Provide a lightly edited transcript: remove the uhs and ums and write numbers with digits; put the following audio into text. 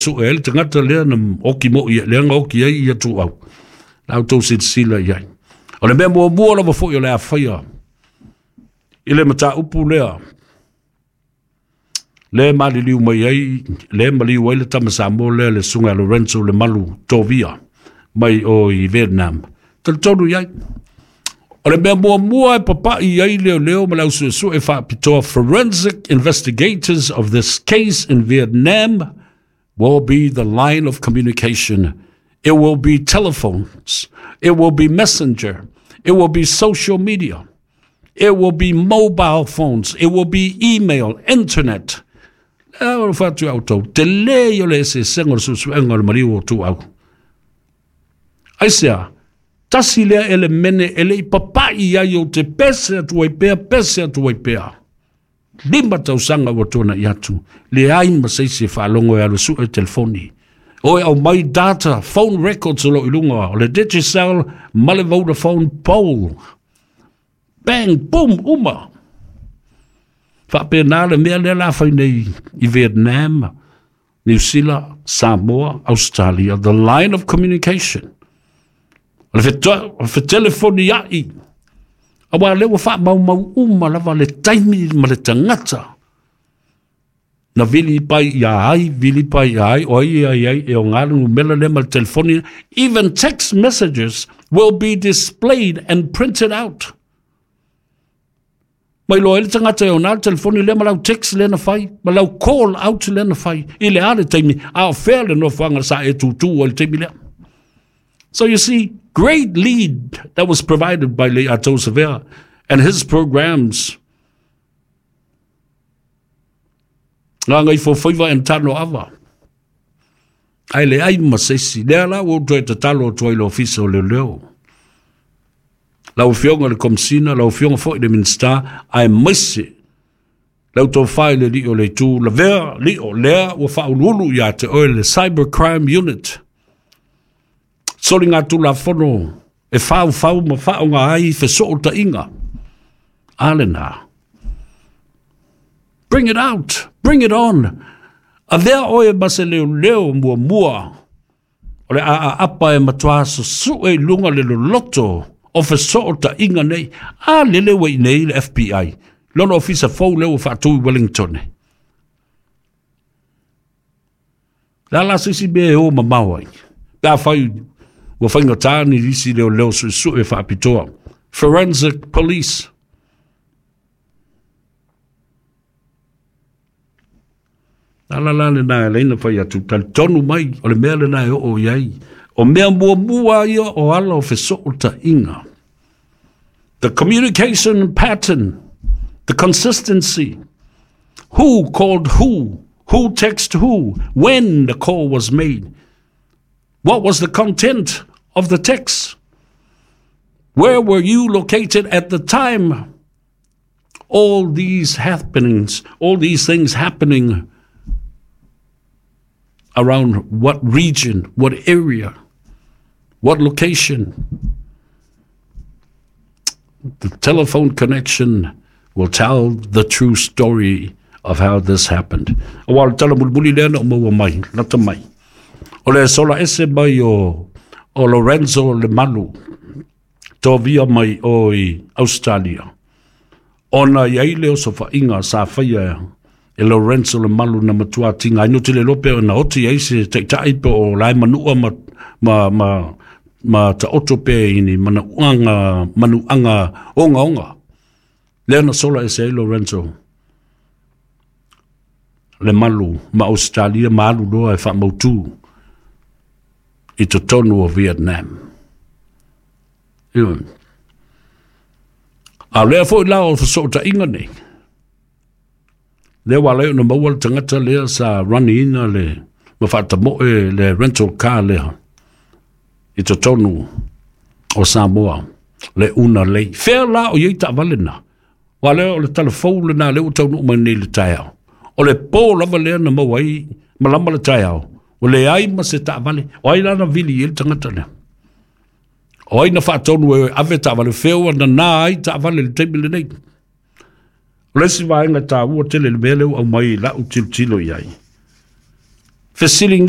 Sue ai le tagata lea na oki moi, lea na oki ai ia tuau. La outou silasila i ai. O le mea muamua lava foi o le a faia i le mataupu lea, le maliliu mai ai, le maliu ai le tama Samoa lea le susuga ia Lorenzo Lemalu Tovia mai o i Vietnam. Talitonu i ai. O le mea muamua e papai ai leoleo ma le au suesue faapitoa forensic investigators of this case in Vietnam will be the line of communication. It will be telephones. It will be messenger. It will be social media. It will be mobile phones. It will be email, internet. Le o fatu au tau. Te le i o le eseesega o le suesuega o le maliu o Tuau. Aisea, tasi lea elemene e le i papai ai ou te pese atu ai pea, pese atu ai pea. 5 tausaga ua tuanai atu, leai ma se isi e faalogo e alu e sue telefoni. O e aumai data, phone records o lo o i luga o le Digicel ma le Vodafone pole. Bang, boom, uma. Faapena le mea lea la fai nei i Vietnam, Niu Sila, Samoa, Australia, the line of communication. O le fetelefonia'i, auā lea ua faamaumau uma lava le taimi ma le tagata na vili pai ia ai, vili pai ia ai, o ai ai ai, e o ngā le numera lea ma le telefoni. Even text messages will be displayed and printed out. Mai loa ai le tagata e ona le telefoni lea ma lau text lea na fai, ma lau call out lea na fai, i le a le taimi, a o fea le nofoaga sa e tūtū ai le taimi lea. So you see, great lead that was provided by Lei'atou Savea and his programs. Gagaifofaiva and Tanoava. Ae leai ma se isi. Lea la ua ou toe tatalo atu ai i le Ofisa o Leoleo. Lau Afioga i le Komesina, lau Afioga foi i le Minisita, aemaise lau tofa i le Alii o le Itu, lavea lio lea ua faauluulu ia te oe le Cyber Crime Unit. Soligatulafono e faufau ma faaaoga ai fesootaiga. A lena. Bring it out! Bring it on! Avea oe ma se leoleo muamua o le aaapa e matua susue i luga le loloto o fesootaiga nei. A lele ua i nei le FBI, lona ofisa fou lea ua faatu i Wellington. Le a la se isi mea e o mamao ai? Pe afai ua faigata ni isi leoleo suesue faapitoa. Forensic Police. Ala la lena e leina fai atu, talitonu mai, o le mea lena e oo i ai. O mea muamua ia o ala o fesootaiga. The communication pattern, the consistency, who called who, who text who, when the call was made, what was the content of the text, where were you located at the time, all these happenings, all these things happening around what region, what area, what location. The telephone connection will tell the true story of how this happened. Aua o le tala mulimuli lea na ou maua mai, lata mai. O le sola ese mai o, o Lorenzo Lemalu, tovia mai o i Australia. Ona i ai le osofaiga sa faia e Lorenzo Lemalu na matua tinga ai no te le iloa pe na oti ai se taitai pe o lae manua ma, ma, ma, ma taoto pe i ni manauanga, manuaga ogaoga. Lea na sola ese ai Lorenzo Lemalu ma Australia ma alu loa e faamautu i totonu o Vietnam. Ioe. A o lea foi la o fesootaiga nei, lea ua ala ai ona maua le tagata lea sa run-ina le ma faatamoe le rental car lea i totonu o Samoa, le una lei. Fea la o i ai taavale na? Aua lea o le tala fou lena lea ua taunuu mai nei i le taeao. O le po lava lea na maua ai malama le taeao, ua leai ma se taavale. O ai la na vili i ai le tagata lea? O ai na faatonu e ave taavale? Fea ua nana ai taavale i le taimi lenei? O le isi vaega taua tele i le mea lea ua aumai i lau tilotilo i ai. Fesiligia.